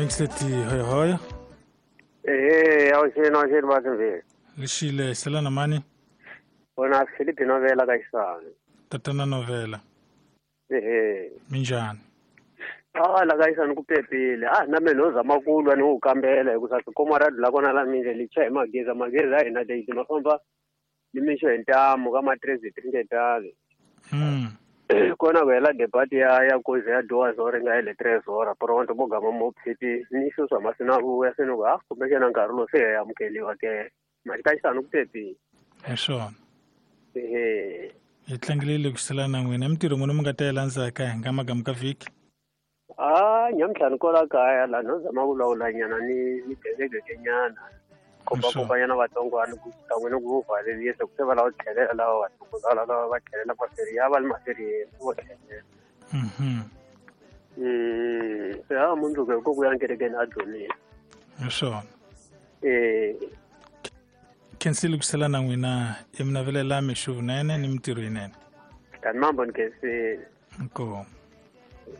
Mixleti hoyohoyo. Ehe, awuxeni awuxeni vatimveli. Lixile selana mani? Wona Filipi Novela ka Xisani. Tatana Novela. Ehe. Minjhani? Ah, la ka Xisani ku pepile. Ah, na mina no zama ku lwa ni wu kambela hikusa tikoma ra dlula kona la minje li cha hi magezi, magezi a hina date ma famba ni mixo hi ntamu ka matrezi tringetale. Kona ku hela debate ya kozi ya doa zore nga hele tres hora pronto mo gama mo phiti ni xo swa masina vuya se ni ku ah kumbexana nkarhi lowu se ya amukeliwa ke mali ka Xisani ku pepile. Hi swona. Ehe. Hi tlangelile ku sela na n'wina mintirho n'wina mi nga ta yi landzaka hi nga magamu ka vhiki. Ah, nyamutlha ni kwala kaya laha no zama ku lawulanyana ni gegegenyana kombakombanyana vatsongwana ku kan'we ni ku valelisa ku se va lava ku tlhelela lava vatsongo lava va tlhelela maferi ya va le maferiyeni vo tlhelela. Se ha mundzuku hi ko ku ya kerekeni a dzonile. Hi swona. Eh. Khensile ku sela na n'wina i mi navelela mixo vunene ni mintirho yinene. Tani mambo ni khensile. Inkomu.